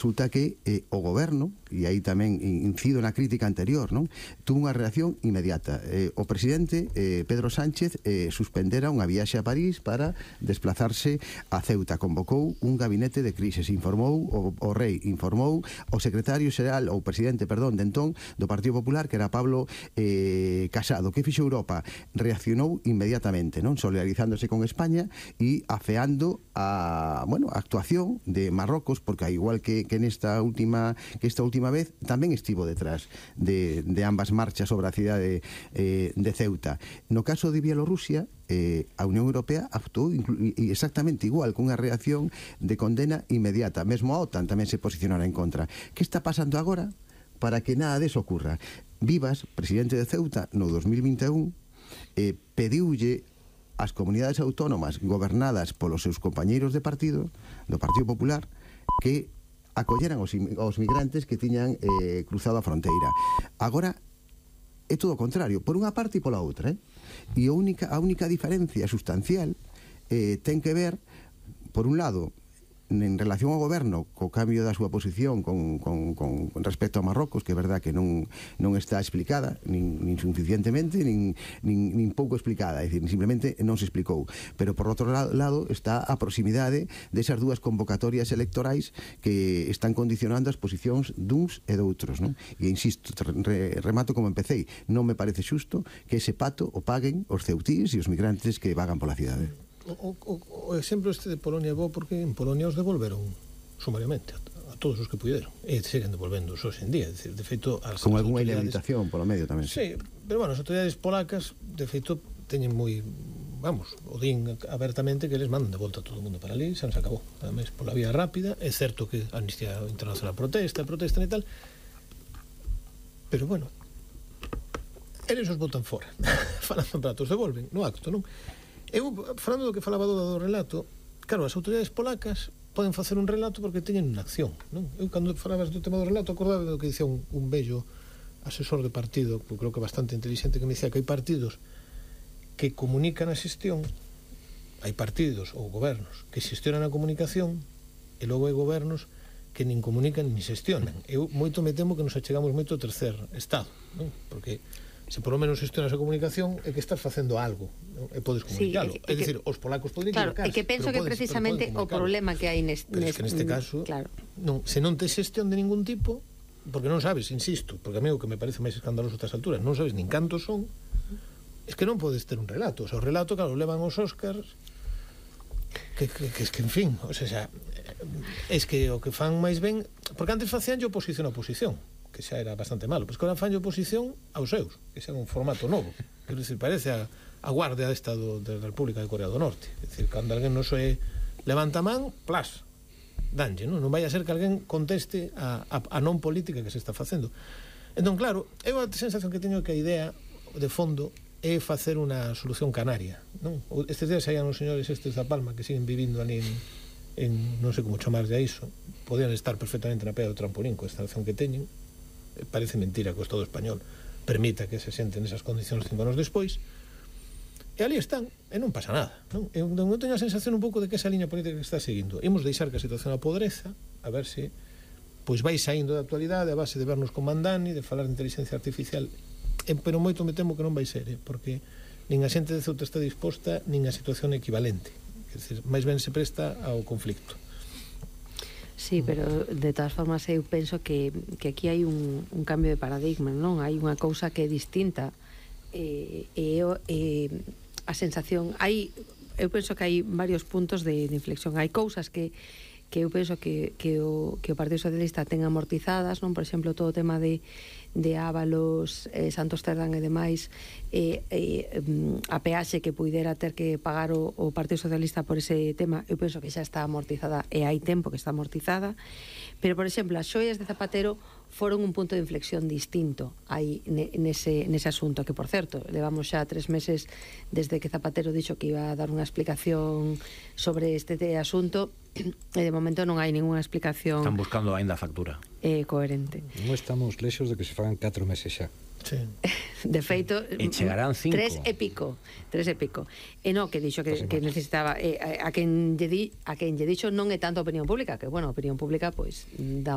resulta que o goberno, e aí tamén incido na crítica anterior, non, tuvo unha reacción inmediata. O presidente Pedro Sánchez suspendera unha viaxe a París para desplazarse a Ceuta. Convocou un gabinete de crisis, informou o rei, informou o secretario xeral, ou presidente, perdón, de entón, do Partido Popular, que era Pablo Casado. Que fixo Europa? Reaccionou inmediatamente, non, solidarizándose con España e afeando a actuación de Marrocos, porque ao igual que esta última vez tamén estivo detrás de ambas marchas sobre a cidade de Ceuta. No caso de Bielorrusia, a Unión Europea actuou exactamente igual, cunha reacción de condena inmediata. Mesmo a OTAN tamén se posicionará en contra. Que está pasando agora para que nada deso ocurra? Vivas, presidente de Ceuta, no 2021, pediulle ás comunidades autónomas gobernadas polos seus compañeiros de partido, do Partido Popular, que acolleran os migrantes que tiñan cruzado a fronteira. Agora é todo o contrario, por unha parte e pola outra, e a única diferencia sustancial ten que ver, por un lado, en relación ao goberno, co cambio da súa posición con respecto a Marrocos, que é verdad que non está explicada, nin suficientemente, nin pouco explicada, é dicir, simplemente non se explicou. Pero por outro lado está a proximidade desas dúas convocatorias electorais que están condicionando as posicións duns e doutros, non? E insisto, remato como empecéi, non me parece xusto que ese pato o paguen os ceutíes e os migrantes que vagan pola cidade. O exemplo este de Polonia é bo porque en Polonia os devolveron sumariamente a todos os que puderon e seguen devolvendo hoxe en día, de feito con algunha inhabilitación polo medio tamén. Sí, pero bueno, as autoridades polacas de feito teñen moi, o din abertamente que eles mandan de volta a todo o mundo para ali, xa nos acabou, ademais pola vía rápida. É certo que a Amnistía Internacional protestan e tal, pero bueno, eles os botan fora falando en pratos, devolven no acto, non? Eu, falando do que falaba do relato, claro, as autoridades polacas poden facer un relato porque teñen unha acción, non? Eu, cando falabas do tema do relato, acordaba do que dicía un bello asesor de partido, que creo que é bastante inteligente, que me dicía que hai partidos que comunican a xestión, hai partidos ou gobernos que xestionan a comunicación, e logo hai gobernos que nin comunican nin xestionan. Eu moito me temo que nos achegamos moito ao tercer estado, non? Porque se por lo menos gestionas a comunicación é que estás facendo algo, non? E podes comunicalo. É dicir, os polacos poden equivocarse. Claro, é que penso que precisamente o problema que hai neste caso, se non tes xestión de ningún tipo, porque non sabes, insisto, porque a mí o que me parece máis escandaloso a estas alturas, non sabes nin cantos son, es que non podes ter un relato. O sea, o relato, claro, levan os Óscars, que en fin, o sea, es que o que fan máis ben, porque antes facían oposición a oposición, que xa era bastante malo, pois que ahora fan oposición aos seus, que xa é un formato novo, quero dicir, parece a Guardia de Estado da República de Corea do Norte, é dicir, cando alguén non se levanta a man, plas, danlle, non vai a ser que alguén conteste a non política que se está facendo. Entón, claro, é unha sensación que teño que a idea de fondo é facer unha solución canaria, non? Estes días saían os señores estes da Palma que siguen vivindo ali en non sei como chamarlle a iso, podían estar perfectamente na pea do trampolín coa instalación que teñen. Parece mentira que o Estado español permita que se senten nesas condicións 5 anos despois, e ali están, e non pasa nada, non? Eu teño a sensación un pouco de que esa liña política que está seguindo, imos deixar que a situación apodreza, a ver se pois vai saindo da actualidade a base de vernos con Mandani, de falar de inteligencia artificial, pero moito me temo que non vai ser, porque nin a xente de Ceuta está disposta, nin a situación equivalente, quer dizer, máis ben se presta ao conflicto. Sí, pero de todas formas eu penso que aquí hai un cambio de paradigma, non? Hai unha cousa que é distinta a sensación eu penso que hai varios puntos de inflexión. Hai cousas que eu penso que o Partido Socialista ten amortizadas, non? Por exemplo, todo o tema de Ábalos, Santos Cerdán e demais, a peaxe que puidera ter que pagar o Partido Socialista por ese tema, eu penso que xa está amortizada e hai tempo que está amortizada. Pero, por exemplo, as xoias de Zapatero foron un punto de inflexión distinto aí nese asunto, que, por certo, levamos xa 3 meses desde que Zapatero dixo que iba a dar unha explicación sobre este asunto, e de momento non hai ninguna explicación. Están buscando aínda a factura coherente. Non estamos lexos de que se fagan 4 meses xa. Sí. De feito, e chegarán 5. 3 e pico. E non, que dixo que necesitaba a quen lle dixo non é tanto a opinión pública, que, bueno, a opinión pública pois dá